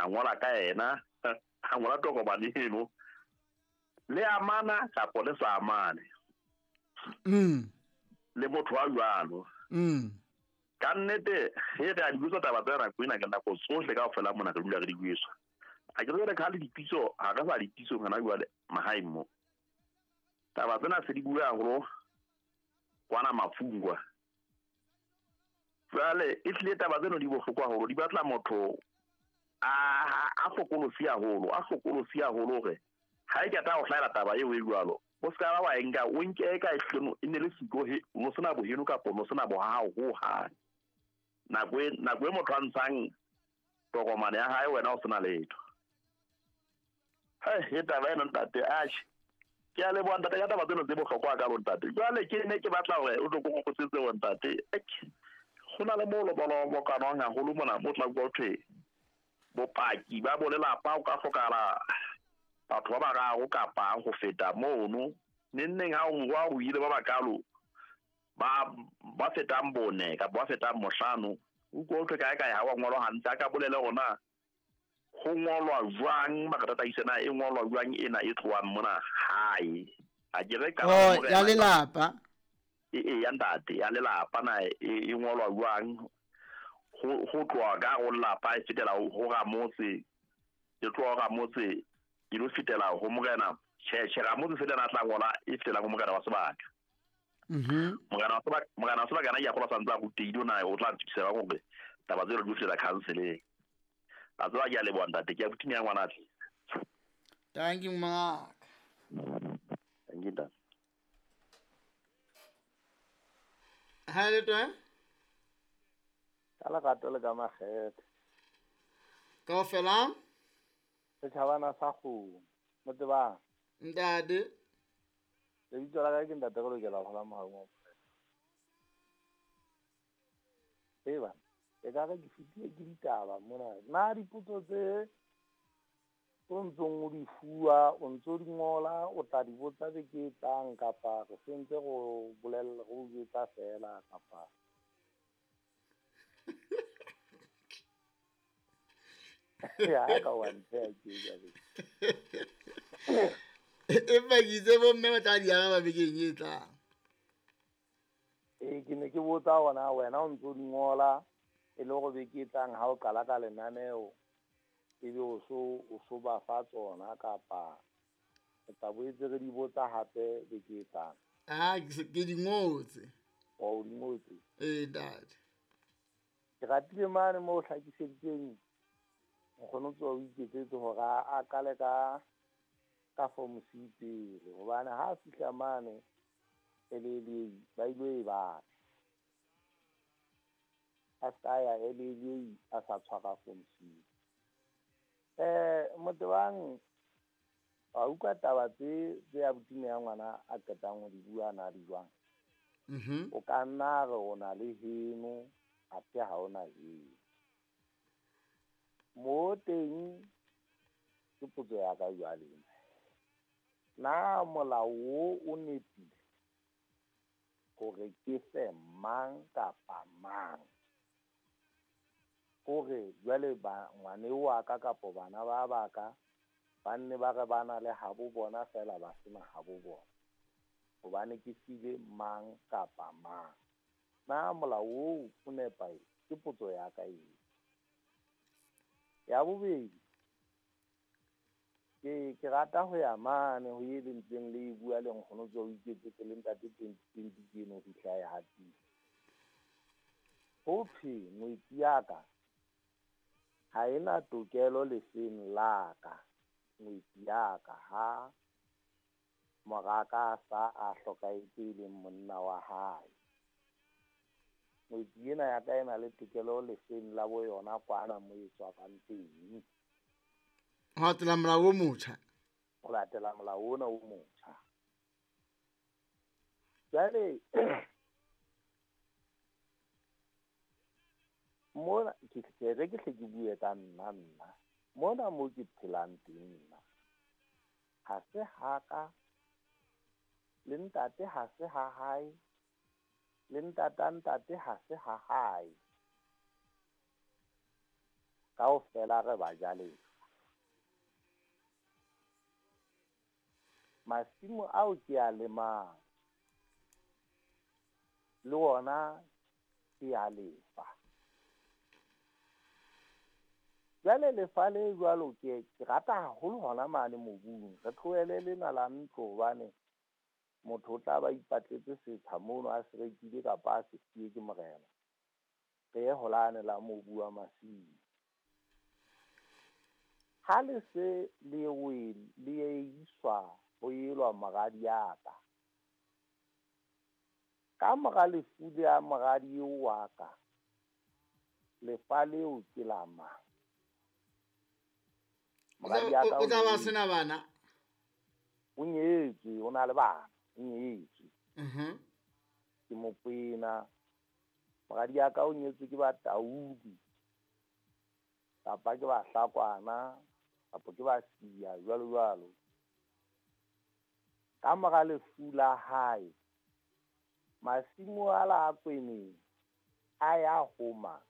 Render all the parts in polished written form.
A ngola ka yena, a ngola tokomane eno. Le amana kapa le sa amane. Le motho wa jwalo. Ka nnete he re a di bitswa taba tsa nako ena ka nako tsohle kaofela mona re dula re di buiswa. A ke re ka le dipitso ha re sa dipitso hona jwale mahaeng mo. Taba tsena se di bua haholo kwana mafungwa. Jwale e tlile taba tseno di bohlokwa haholo, di batla motho a hlokolosi haholo, a hlokolosi haholo hore ha e keta ho hlahela taba eo e jwalo. O ska ba wa enka o nke ka ehleno e ne le siko he no sena boheno kapa no sena bohao ho hang. Nako e motho a ntshang tokomane ya hae wena o sena letho. He taba ena ntate atjhe. Ke a leboha ntate ka taba tseno tse bohlokwa ka lo ntate. Jwale ke ne ke batla hore o tlo kokotsetse ho ntate. Ho na le moo lobolo bo kanwang haholo mona mo tla go thwe bopaki ba bo lelapa o ka hlokahala batho ba bararo kapa ho feta mono. Nenneng ha o wa o ile ba bakalo ba fetang bone kapa ba fetang mohlano o go thwe kae kae ha wa ngolwa hantle ka bolele hona ho ngolwa jwang ba tataise na e ngolwa jwang ena e tlohang mona hae. A ke re ka ya lelapa e ya ntate ya lelapa na e ngolwa jwang ho tloha ka ho lelapa e fetela ho ramotse e tloha ramotse e lo fetela ho morena. Tjhe ramotse se lena tla ngola e fetela ho morena wa sebaka. Morena wa sebaka na ya gola santsa go teile na o tla ntsisa hore taba tseo di fetela councileng. A tswa ke a leboha ntate, ke a bothinya ngwana tle. Thank you Mark. Thank you ntate. Ha le twa? Ka lerato le ka makgethe. Kaofela? Setjhabana sa kgomo. Motebang. Ntate. Lebitso la ka ke ntate re lokela ho hola mohaung wa Morena. Eba, e ka re ke fetile ke ditaba mona. Na dipotso tse o ntsong o di fuwa, o ntso di ngola, o tla di botsa beke e tlang kapa re sentse go bolella go jwetsa fela kapa ya ka wa ntshe ke ja be. Empa ke itse bomme ba tla di araba bekeng e tlang. Ke ne ke botsa hona wena o ntso di ngola e le hore beke e tlang ha o qala ka lenaneo ebe o so ba fa tsona kapa re tla boetse re di botsa hape beke e tlang. Ah, ke di ngotse. O di ngotse? Ee, ntate. Ke ratile mane moo o hlakiseditseng nkgono tswa o iketsetse hore a qale ka form C pele hobane ha a fihla mane LLA ba ilo e batla. A ska ya LLA a sa tshwara form C. Motebang wa utlwa taba tse ya botime ya ngwana a qetang ho di bua na di jwang? O ka nna re o na le heno athe ha o na heno. Mo teng ke potso ya ka jwale. Na molao o nepile hore ke fe mang kapa mang? Hore jwale ba ngwane wa ka kapa bana ba baka ba nne ba re ba na le habo bona fela ba sena habo bona hobane ke file mang kapa mang. Na molao oo o nepahetse? Ke potso ya ka eo. Ya bobedi, ke rata ho ya mane ho e lentseng le e bua le nkgono tswa o iketsetse le ntate 2020 ke eno ho fihla e hatisa. Ho thwe ngwetsi ya ka ha ena tokelo lefeng la ka, ngwetsi ya ka ha moraka sa a hlokahetse e leng monna wa hae. Ngwetsi ena ya ka e na le tokelo lefeng la bo yona kwana mo e tswang teng. Ho latela molao o motjha. Ho latela molao ona o motjha. Jwale mona ke re ke hle ke bue ka nna. Mona mo ke phelang teng nna. Ha se haka le ntate ha se ha hae le ntata ntate ha se ha hae. Kaofela re bajalefa. Masimo ao ke a lemang le ona ke a lefa. Jwale lefa le jwalo ke rata haholo hona mane mobung. Re tlohele lena la ntlo hobane motho o tla ba ipatletse setsha mono a se rekile kapa a se siye ke morena. Re ye holane la mobu wa masimo. Ha le se le le iswa ho elwa moradi ya ka. Ka mora lefu la moradi eo wa ka, lefa leo ke la mang? Moradi ya ka O tla ba sena bana. O nyetswe, o na le bana, o nyetswe. Ke Mokwena. Moradi ya ka o nyetswe ke Bataudi, kapa ke Bahlakwana, kapa ke Basia, jwalo jwalo. Ka mora lefu la hae, masimo a la Kweneng a ya ho mang?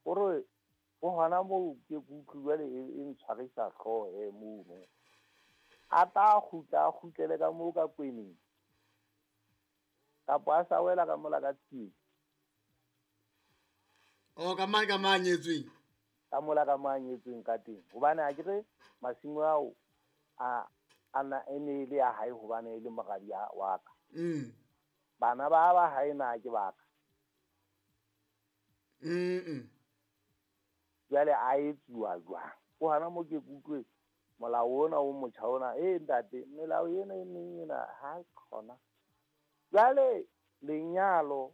Hore ho hona moo ke utlwe jwale e ntshwarisa hlooho e mono. A tla kgutla, a kgutlele ka moo ka Kweneng, kapa a sa wela ka mola ka Tsietsi. O ka mang ka mang nyetsweng? Ka mola ka mang nyetsweng ka teng. Hobane ha ke re masimo ao a na e ne le ya hae hobane e le moradi wa ka. Bana ba ba hae na ke ba ka. Jwale a etsuwa jwang? Ho hana mo ke utlwe molao ona o motjha ona, ntate, melao ena e meng ena ha e khona. Jwale lenyalo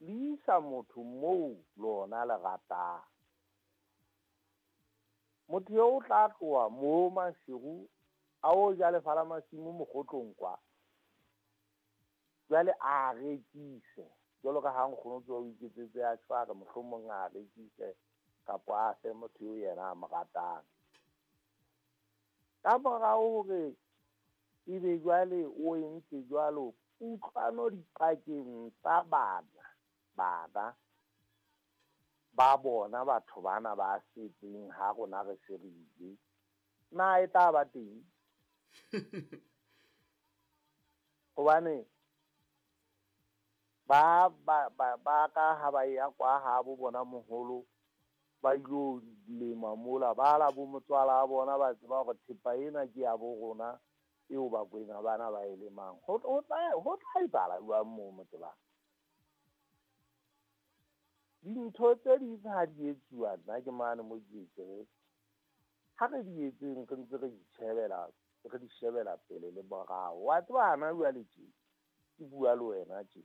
le isa motho moo lona le ratang. Motho eo o tla tloha moo Maseru a o ja lefa la masimo mokgotlong kwa. Jwale a rekise jwalo ka ha nkgono tsoa o iketsetse a tshware, mohlomong a rekise kapa a fe motho eo yena a mo ratang. Ka morao hore ebe jwale o entse jwalo, kutlwano dipakeng tsa bana ba bona batho bana ba setseng ha rona re se re ile, na e tla ba teng? Hobane ba ka ha ba ya kwa ha bo bona moholo ba ilo lema mola, ba la bo motswala wa bona ba tseba hore thepa ena ke ya bo rona eo Bakwena bana ba e lemang. Ho tla etsahala jwang moo Motebang? Dintho tse ding ha di etsuwa, nna ke mane mo ke etseng. Ha re di etseng re ntse re itjhebela, re di shebela pele le morao. Wa tseba hana jwale tje, ke bua le wena tje.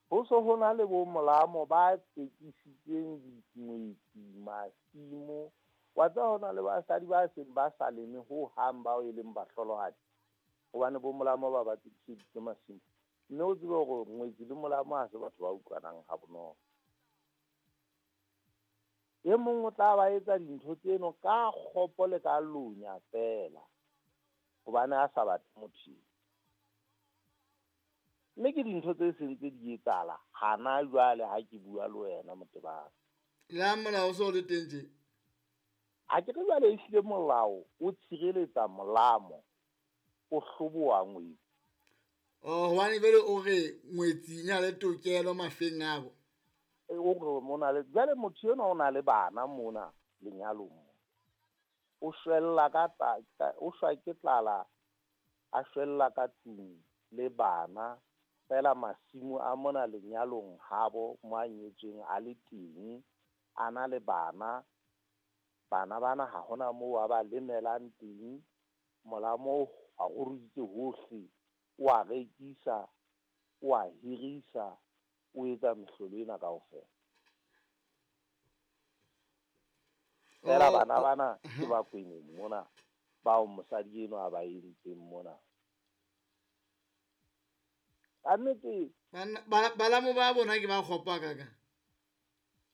Ho so ho na le bo molamo ba tsekisitseng dingwetsi, masimo. Wa tseba ho na le basadi ba seng ba sa leme ho hang bao e leng bahlolohadi, hobane bo molamo ba ba tsekiseditse masimo. Mme o tsebe hore ngwetsi le molamo ha se batho ba utlwanang ha bonolo. E mong o tla ba etsa dintho tseno ka kgopo le ka lonya feela, hobane a sa batle motho. Mme ke dintho tse seng tse di etsahala hana jwale ha ke bua le wena Motebang. Le ha molao o so le teng tje? Ha ke re jwale ehlile molao o tshireletsa molamo, o hloboha ngwetsi. Oh, hobane jwale o re ngwetsi e na le tokelo mafeng abo. O re mona le jwale motho enwa o na le bana mona lenyalong mo. O shwella ka o shwa ke tlala, a shwella ka tlung le bana. Fela masimo a mona lenyalong habo mo a nyetsweng a le teng, a na le bana. Bana bana ha hona moo a ba lemelang teng. Molamo a ruruhitse hohle, o a rekisa, o a hirisa, o etsa mehlolo ena kaofela. Fela bana bana ke ba Kweneng mona, bao mosadi enwa a ba entseng mona. Ka nnete Balamo ba bona ke ba kgopo kaka.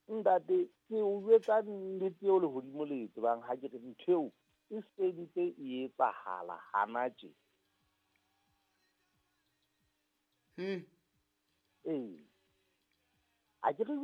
Ntate, ke o jwetsa nnete eo lehodimo le e tsebang, ha ke re ntho eo e sentse e etsahala hana tje. Ee. A ke re.